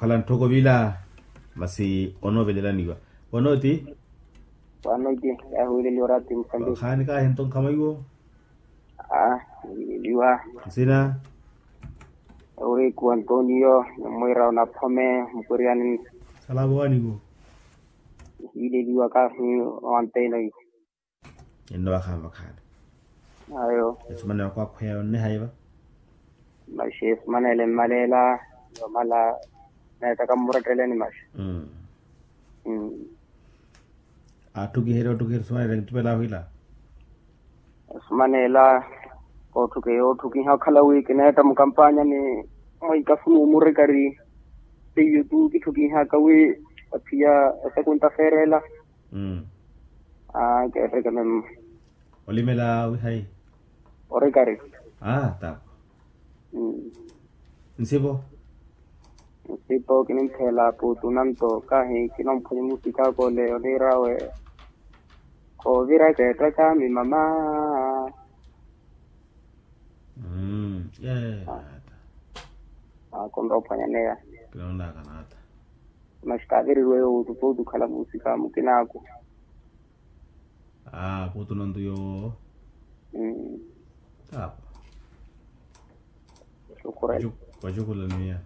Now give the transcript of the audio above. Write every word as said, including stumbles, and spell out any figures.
Khala ntthoko vila. Masi onoovelelaniwa. Wanooti? Wanooti. Yahuwileliwa orati mukhambi. Khaani kaahi nto nkhama iwo. Ah, hiileliwa. Nsina? Euriku antonio. Nimwiira onaphome mukwiryani. Salavo waniwo. Hiileliwa kaahi. Wanteno iwo. Enno vakhaani vakhaani. Ayo. Esumanelo khwakhweya onneha iva. Maxi esumanelo emmalela. Yomala. Neettaka mmuretteleni maxi. Atthukiherya otthukiherya esumanelo enkitupela ahwiila. Esumanelo kootthukiha okhala wi kineetta mukampanyani. Mwiikafu n'umurikari. Seiyo tu kitthukihaka wi. Aphiya esekunta feerela. Aa keetteke memo. Olimela wihayi. Orikari. Aa tapo. Nsipo. Nsipo kininttheela puutu nanto kaahi kinomphwanya musikaka ole oniirawe. Kooviraka ettaka mimama. Mmm. Yeeyo naata. Aa konrophwanyaneya. Kinonaka naata. Maxi kaaviririwe yoowo tutuutu khala musikaka mukinaaku. Aa puutu nanto yoowo. Tapo. Vacukulaniya.